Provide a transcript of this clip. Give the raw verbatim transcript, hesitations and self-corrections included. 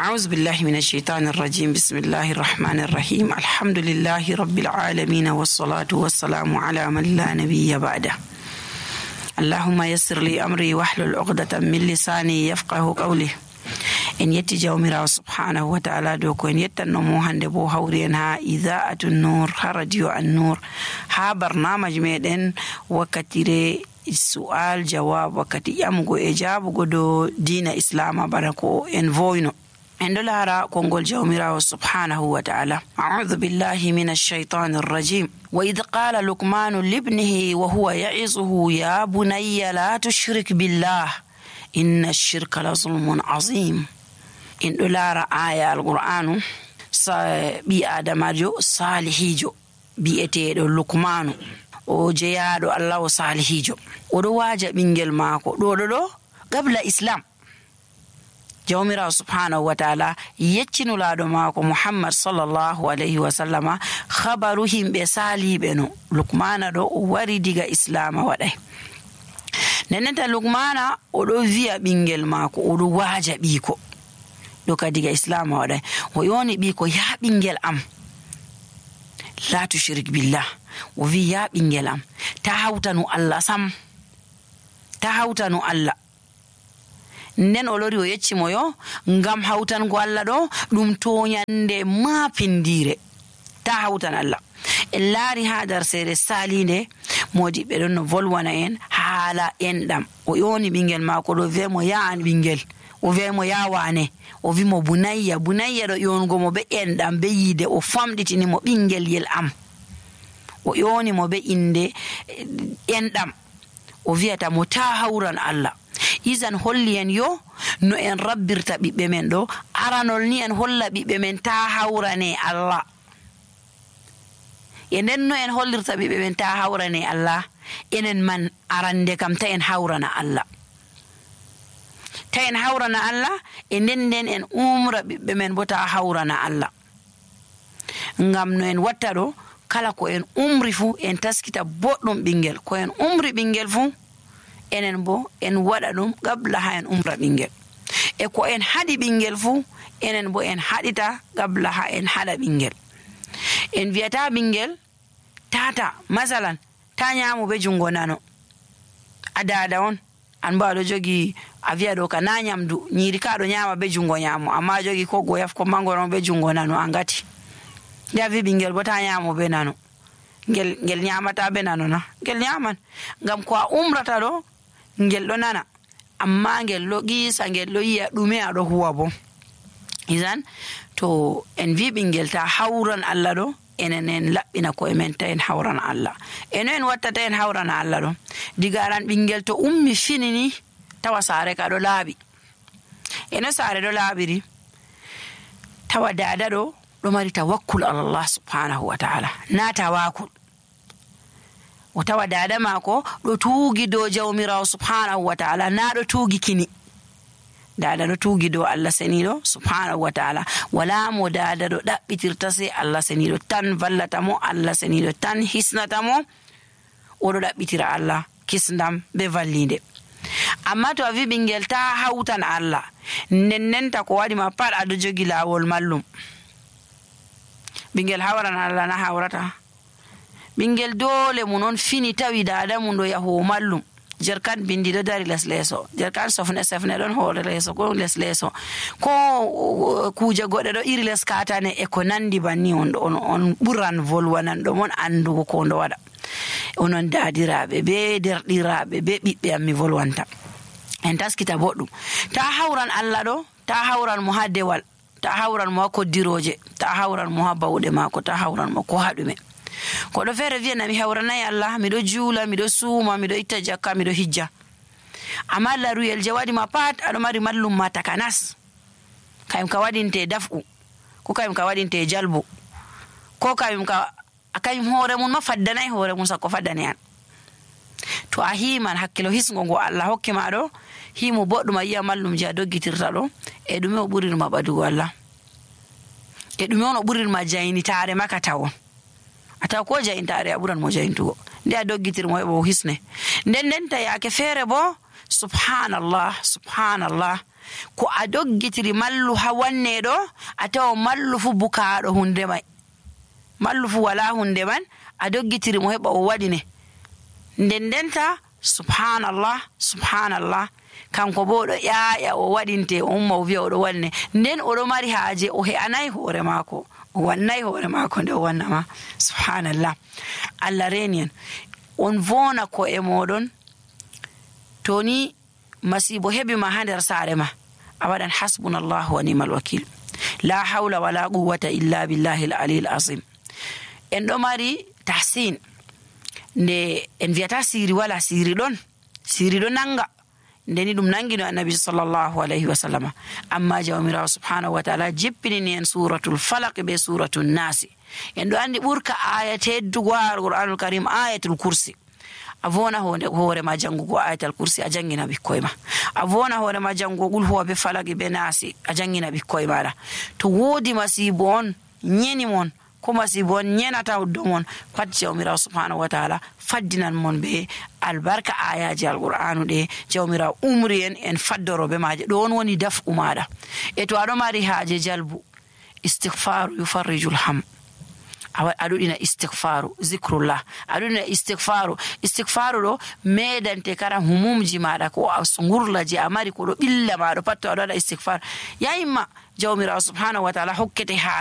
أعوذ بالله من الشيطان الرجيم بسم الله الرحمن الرحيم الحمد لله رب العالمين والصلاة والسلام على من لا نبي بعده اللهم يسر لي أمري واحلل عقدة من لساني يفقه قولي en yetti jawmirawo subhanahu wa ta'ala dow ko en yettannomo hande bo hawri en ha idaa'atu nur ha radio an nur ha barnamaji meɗen wakkatire su'al jawab wakkati ƴamugo e jaabugo dow diina islama bana ko en voyno en ɗo laara konngol jawmirawo subhanahu wa ta'ala a'udhu billahi minash shaitanir rajim wa idh qala luqmanu libnihi wa huwa ya'izuhu ya bunayya la tushrik billah inna ash-shirka la zulmun azim. En ɗo laara aya alqur'anu sa ɓi adamajo salihijo bi'eteɗo lukmanu o jeyaɗo allah o salihijo oɗo waaja ɓingel maako ɗo ɗo ɗo gabla islam. jawmirawo subhanahu wa ta'ala yeccinulaɗo maako muhammad sallallahu alayhi wa sallama habaru himɓe saliɓe no lukmana ɗo o wari diga islama waɗay. nenenta lukmana oɗo wiya ɓingel maako oɗo waaja ɓiiko ɗo ka diga islama waɗay o yoni ɓiiko ya ɓingel am la tushrik billah o wi ya ɓingel am ta hawtanu allah sam ta hawtanu allah. nden o lori o yeccimo yo ngam hawtango allah ɗo ɗum toñande mapindire ta hawtan allah. en laari ha dar seere salinde modi ɓe ɗon no volwana en haala enɗam o yoni ɓingel maako ɗo wemo ya an ɓingel o wemo ya wane o wimo bunayya bunayya ɗo yongo mo be enɗam be yiide o famɗitini mo ɓingel yel am o yoni mo be inde enɗam o wiyata mo ta hawran allah. izan holli en yo no en rabbirta ɓiɓɓe men ɗo aranol ni en holla ɓiɓɓe men ta hawrane allah e nden no en hollirta ɓiɓɓe men ta hawrane allah enen man arande kam ta en hawrana allah ta en hawrana allah e nden nden en umra ɓiɓɓe men bo ta hawrana allah. ngam no en watta ɗo kala ko en umri fuu en taskita boɗɗum ɓingel ko en umri ɓingel fuu enen bo en waɗa ɗum gabla ha en umra ɓingel e ko en haɗi ɓingel fuu enen bo en haɗita gabla ha en haɗa ɓingel. en wiyata ɓingel tata masalan ta ñamu be jungo nano a dada on an bo aɗo jogi a wiya ɗo ka na ñamdu ñiiri ka ɗo ñama be jungo ñamu amma jogi ko goyaf ko mangoron be jungo nano a ngati nde a wi ɓingel bo ta ñamu be nano ngel ngel ñamata be nano na ngel ñaman ngam ko a umrata ɗo ngel ɗo nana amma ngel ɗo qisa ngel ɗo yiya ɗume aɗo huwa bo. izan to en wi ɓingel ta hawran allah ɗo enen en laɓɓina koye men ta en hawrana allah. eno en watta ta en hawrana allah ɗo diga aran ɓingel to ummi finini tawa saare ka ɗo laaɓi eno saare ɗo laaɓiri tawa dada ɗo ɗo mari tawakkul alallah subhanahu wa ta'ala na tawakul o tawa dada maako ɗo tuugi dow jawmirawo subhanahu wa ta'ala na ɗo tuugi kini. dada ɗo tuugi dow allah seniɗo subhanahu wa ta'ala wala mo dada ɗo ɗaɓɓitirta se allah seniɗo tan vallata mo allah seniɗo tan hisnata mo oɗo ɗaɓɓitira allah kisndam be vallinde. amma to a wi ɓingel ta hawtan allah nennenta ko waɗima pat aɗo jogi lawol mallum ɓingel hawran allah na hawrata ɓingel dole mu non fini tawi dada mum ɗo yahowo mallum jerkan bindi ɗo dari les leeso jerkan sofne sefne ɗon hoore leeso ko les leeso ko kuje goɗɗe ɗo iri les katane e ko nandi banni on ɗo on, on ɓuran volwanan ɗo mon andugo ko ndo waɗa onon dadiraɓe be derɗiraɓe be ɓiɓɓe am mi volwanta en taskita boɗɗum ta hawran allah ɗo ta hawran mo ha dewal ta hawran mo ha koddiroje ta hawran mo ha bawɗe maako ta hawran mo ko haɗume. koɗo feere wiyana mi hawranayi allah miɗo juula miɗo suuma miɗo itta jakka miɗo hijja amma laruyel je waɗima pat aɗo mari mallum ma takanas kayum ka waɗinte daf'u ko kayum ka waɗinte jalbu ko kayum ka kayum hoore mum ma faddanayi hoore mum sakko faddane an. to a himan hakkilo hisgo ngo allah hokki ma ɗo himo boɗɗum a yiya mallum je a doggitirta ɗo e ɗume o ɓurirma ɓadugo allah e ɗume on o ɓurirma jaynitare maka tawon a taw ko jayintare a ɓuran mo jayntugo nde a doggitirmo heɓa o hisne nden nden ta yaake feere bo subhanallah subhanallah ko a doggitiri mallu ha wanne ɗo a tawa mallu fu bukaaɗo hunde mai, mallu fu wala hunde man a doggitiri mo heɓa o waɗine. nden ndenta subhanallah subhanallah kanko bo ɗo ƴaƴa o waɗinte o umma o wiya oɗo wanne, nden oɗo mari haaje o he'anayi hoore maako, o wannayi hoore maako nde o wannama. subhanallah. Allah reni en, on vona ko e moɗon to ni masibo heɓi ma ha nder saare ma a waɗan hasbunallahu wa ni'mal wakil, la hawla wala quwwata illa billahi al-aliyyil azim. en ɗo mari tahsin nde en wiyata siri wala, siri ɗon, siri ɗo nanga, ndeni ɗum nangino annabi sallallahu alayhi wa sallam. amma jawmirawo subhanahu wa ta'ala jippinini en suratul falaq be suratul nasi. en ɗo andi ɓurka aya teddugo al-qur'anul karim ayatul kursi. a vona hoore ma jangugo ayatul kursi a jangina ɓikkoy ma, a vona hoore ma jangugo qul huwa be falaki be nasi a jangina ɓikkoy maɗa. to woodi masibo on nyeni mon ko masibo on nyenata uddo mon, pat jawmirawo subhanahu wa ta'ala faddinan mon be albarka ayaji alqur'anu ɗe. jawmirawo umri en en faddoro be maje, ɗon woni daf'u maɗa. e to aɗo mari haaje jalbu, istighfaru yufarrijul ham, aɗuɗina istighfaru, zikrullah aɗuɗina istighfaru. istighfaru ɗo medante kara humumji maɗa ko ngurla je a mari ko ɗo ɓilla maɗo pat to aɗo waɗa istighfar yayimma jawmirawo subhanahu wa ta'ala hokkete ha